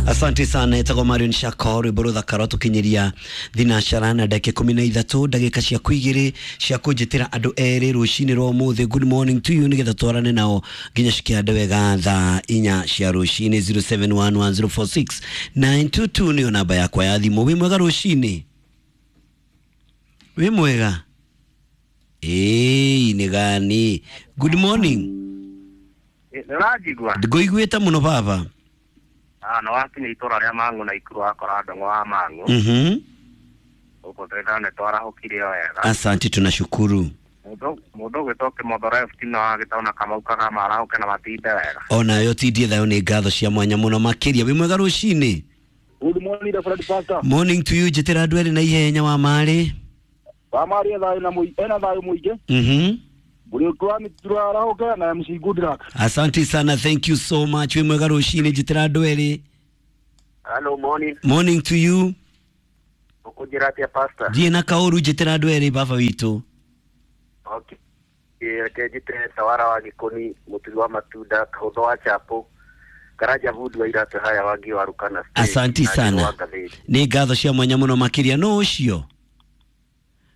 Asante sana etagwo Marion Shako rwimbo ruthaka rwatukinyiria thinacara na ndagika 13 ndagika ciaku igiri cia kunjitira andu eri rucini rwa umuthi. Good morning to you nigetha twarane nao nginya cikiande wega thaa 4 cia rucini. 0711046922 niyo namba yakwa ya thimu. Wi mwega rucini? Wi mwega? Ĩĩ nĩ gani? Good morning. Nĩũranjigua? Ngũiguĩte mũno baba. No wakinya itũra rĩa Mang'u na Ikuru wakora ndong'o wa Mang'u. Gũkũ twĩna nĩ twarahũkire o wega. Asante, tunashukuru. Mũndũ ũgwĩtwo Kĩmotho Left no agĩtona Kamau Kagama arahũke na matinde wega. Onayo tindie thayũ nĩ ngatho cia mwanya mũno makĩria. Wĩ mwega rũcinĩ? Good morning, Fred Pastor. Morning to you. Njĩtĩra andũ erĩ na ihenya wa marĩ. Wa marĩ thayũ na ena thayũ mũingĩ. Mũrĩũku wa mĩturo arahũke na MC Good Luck. Asante sana, thank you so much. Wĩ mwega rũcinĩ? Njĩtĩra andũ erĩ. Hello, morning. Morning to you. Ũkũnjĩra atĩa pastor? Thiĩ na kaũru, njĩtĩra andũ erĩ baba witũ. Okay. Reke njĩte Tawara wa Gĩkũni, Mũturi wa Matunda, Kahũtho wa Chapo, Karanja Vundi wa Iratũ haya Wangi wa Rukana State, Asanti na Njĩrũ sana. wa Ngathĩti. Nĩ ngatho cia mwanya mũno makĩria. Nũ ũcio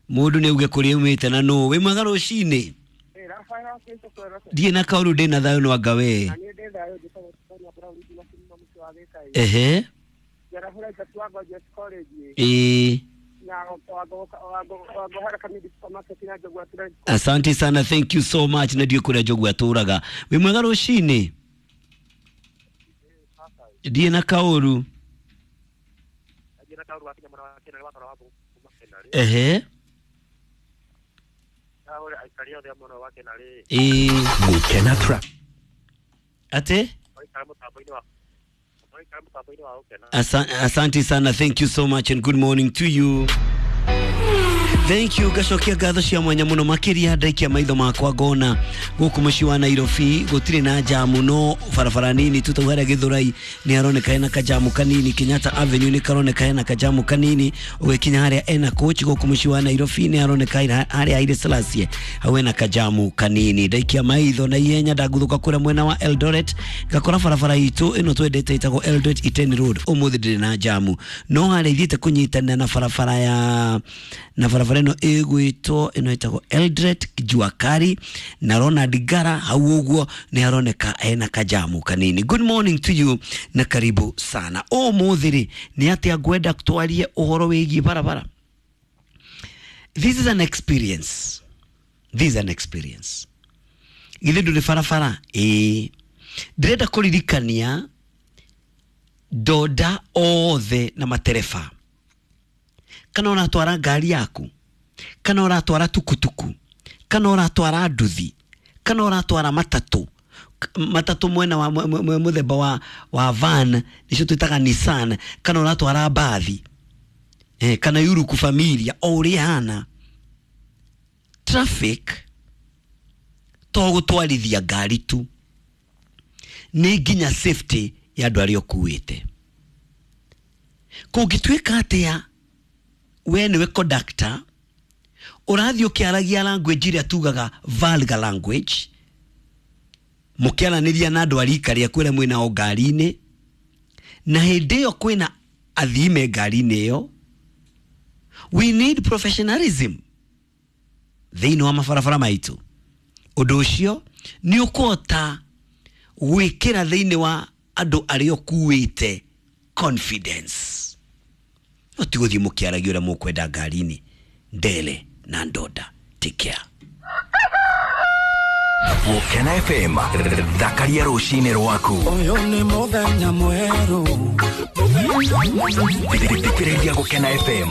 mũndũ nĩ auge kũrĩa umĩte na nũ. Wĩ mwega rũcinĩ? Ndiĩ na kaũru, ndĩ na thayũ no anga we. Ehe. Ĩĩ. Asante sana, thank you so much. Na ndiũ kũrĩa Njogu atũraga. Wĩ mwega rũcinĩ? Ndiĩ na kaũru. Ehe. Ĩĩ. Gukena Trap. Ate? Asante sana, thank you so much and good morning to you. Thank you. Gacokia ngatho cia mwanya mũno makĩria. Ndaikia maitho makwa ngona gũkũ mũciĩ wa Nairobi gũtirĩ na jamu, no barabara nini tu tau harĩa Gĩthũrai nĩ haroneka hena kajamu kanini, Kenyatta Avenue nĩ karoneka hena kajamu kanini, ũgĩkinya harĩa ena coach gũkũ mũciĩ wa Nairobi nĩ haroneka harĩa Haile Selassie hau hena kajamu kanini. Ndaikia maitho na ihenya ndaguthũka kũrĩa mwena wa Eldoret ngakora barabara itũ ĩno twendete ĩtagwo Eldoret Iten Road ũmũthĩ ndĩrĩ na jamu, no harĩa ithiĩte kũnyitana na barabara ya na barabara ĩno ĩgwĩtwo ĩno ĩtagwo Eldoret Juakari na Ronald Ngara hau ũguo nĩ haroneka hena kajamu kanini. Good morning to you na karibu sana. Ũmũthĩ rĩ nĩ atĩa ngwenda twarie ũhoro wĩgiĩ barabara. This is an experience. This is an experience. Githĩ ndũrĩ barabara? Ĩĩ. Ndĩrenda kũririkania ndonda othe na matereba, kana ũratwara ngari yaku, kana ũratwara tukutuku, kana ũratwara nduthi, kana ũratwara matatũ. Matatũ mwena wa mũthemba wa van nĩcio twĩtaga Nissan, kana ũratwara mbathi, kana yuruku familia o ũrĩa hana. Traffic to gũtwarithia ngari tu, nĩ nginya safety ya andũ arĩa ũkuĩte. Kũngĩtuĩka atĩa we nĩwe conductor ũrathiĩ ũkĩaragia language ĩrĩa tugaga vulgar language, mũkĩaranĩria na andũ a rika rĩaku arĩa mwĩnao ngari-inĩ, na hĩndĩ ĩyo kwĩna athii me ngari-inĩ ĩyo. We need professionalism thĩinĩ wa mabarabara maitũ. Ũndũ ũcio nĩ ũkũhota gwĩkĩra thĩinĩ wa andũ arĩa ũkuĩte confidence. No ti gũthiĩ mũkĩaragia ũrĩa mũkwenda ngari-inĩ. Ndele na ndonda. Take care. Gukena FM thakaria rũcinĩ rwaku. Ũyũ nĩ mũthenya mwerũ. Thikĩrĩria Gukena FM.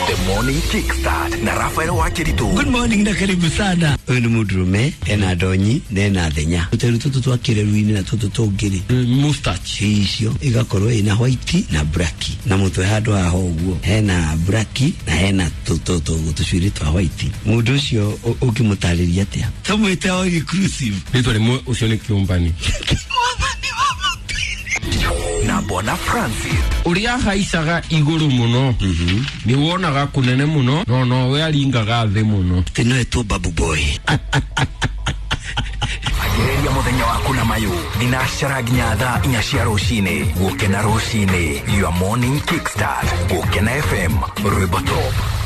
The Morning Kickstart na Rafael Wakiritu. Good morning na karibu sana. Ũyũ nĩ mũndũrũme ena ndonyi na ena thenya. Tũteru tũtũ twa kĩreru-inĩ na tũtũ tũngĩ-rĩ, mustache icio igakorwo ĩna white na black, na mũtwe handũ haha ũguo hena black na hena tũcuĩrĩ twa white. Mũndũ ũcio ũngĩmũtarĩria atĩa? Tũmwĩte all inclusive. Rĩtwa rĩmwe ũcio nĩ kĩũmbani. Na Bwana Francis. Ũrĩa haicaga igũrũ mũno nĩ wonaga kũnene mũno, no nowe aringaga thĩ mũno. Tĩ no etwo Babu Boy. Agĩrĩria mũthenya waku. Kuna mayu thinacara nginya thaa 4 cia rũcinĩ. Gũkena rũcinĩ, your morning kickstart. Gũkena FM, rwĩmbo top.